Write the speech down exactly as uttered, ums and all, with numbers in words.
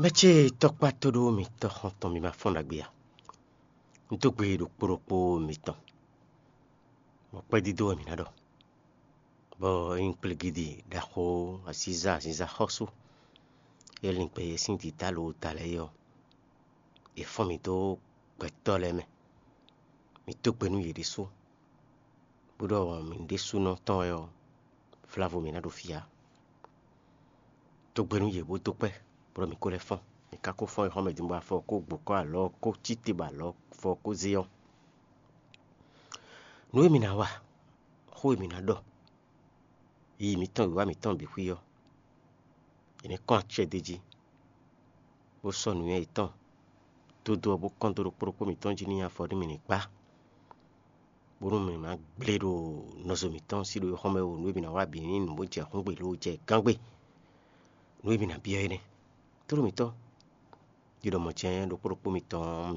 Mɛ ce tɔkpá tóɖó mitɔ́ xɔntɔn mi ma fɔ́n ɖagbe a? Un dó gbe ɖokpó ɖokpó mitɔn, bɔ kpɛ́dídó wɛ mǐ ná ɖɔ, bɔ é nyí kplégídi ɖaxó asízá azinzá xɔ́sú e lin gbɛ yɛ sín dǐdá lowota lɛ́ɛ é ɔ́, è fɔ́n mì dó gbɛtɔ́ lɛ́ɛ mɛ. Mǐ dó gbe nú yě ɖésú, bó ɖɔ mǐ ɖésúnɔ tɔn wɛ ɔ́, vlavo mǐ ná ɖo fí ǎ. Dó gbe nú yě bó dó kpɛ́, bó ɖɔ mǐ ko lɛ́ fɔ́n. Mǐ ka ko fɔ́n yi xɔ mɛ din bɔ afɔ ko gbǒkɔ́ alɔ ko cí te bɔ alɔ fɔ ko zé ɔ́, nǔ e mǐ ná wa, xó e mǐ ná ɖɔ, yiyi mǐtɔn wǐwá mǐtɔn bǐ xwí ɔ́, è nǐ kɔn acɛ d'é jí, bó sɔ́ nǔnywɛ́ yětɔn dó dó ɔ́, bó kɔn dó ɖokpó ɖokpó mǐtɔn jí nú nyi afɔ nú mǐ ní gbá, bónú mǐ ná gblé ɖo nɔzo mǐtɔn sí ɖo xɔ́mɛ o, nǔ e mǐ ná wa bǐ ní nǔ bó jɛ xúngbe lǒ jɛ gángbe. Nǔ e mǐ ná byɔ́ é nɛ́. Tlóló mǐtɔn, yi ɖɔ mɔ̌ jɛ́n ɖokpó ɖokpó mitɔn